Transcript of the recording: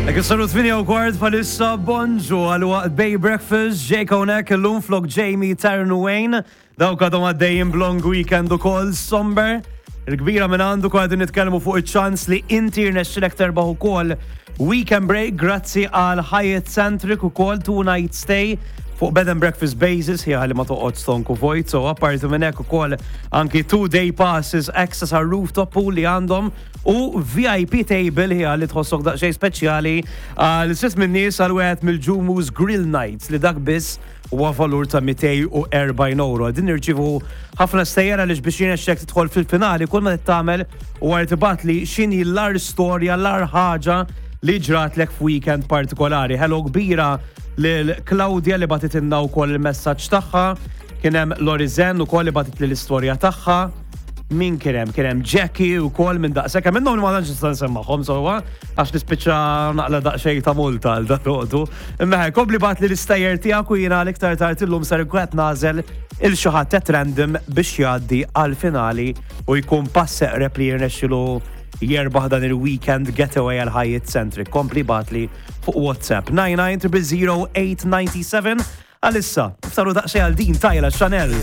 Hekk saru 8:15 bħalissa, bonġu għal waqt Bay Breakfast, Jake hawnhekk illum flok Jamie, Taryn u Wayne, dawk għadhom għaddejjin b'long weekend ukoll somber. Il-kbira minn għandu kwa qegħdin nitkellmu fuq iċ-ċans li inti rnexxilek terbaħ ukoll weekend break grazzi għal Hyatt Centric ukoll two night stay fuq bed and breakfast basis ħi ħalli ma toqgħod stonku vojt, so apparti minn hekk ukoll anki two day passes access għal rooftop pool li għandhom u VIP table ħi li tħossok daqsxejn speċjali għal sitt minn nies għal wieħed mill-Ġumus Grill Nights li dak biss huwa valur ta' 240 euro. Din nirċivu ħafna stejjer għaliex biex jirnexxek tidħol fil-finali kull ma tagħmel u għar tibgħat li x'inhi l-ar storja, l-ar ħaġa li ġratlek f'weekend partikolari. Hello kbira lil Claudia li bagħtitilna wkoll il-messaġġ tagħha. Kien hemm Lorizen ukoll li bagħtit li l-istorja tagħha. Min kien hemm? Kien hemm Jackie wkoll minn daqshekk. Hemm minnhom li ma tantx nista' nsemmagħhom sewwa għax nispiċċa naqla daqsxejn ta' multa għal dalodu. Imma ħe, kompli bagħat li l-istejjer tiegħek u jiena l-iktar tard illum ser inkun qed nagħżel il xi ħadd at random biex jgħaddi għall-finali u jkun pass eqreb li jirnexxilu jerbaħ dan il-weekend getaway għal Hyatt Centric. Kompli bagħatli fuq WhatsApp 99 000 897 Għalissa, saru daqsxejn għal din Tyla Chanel.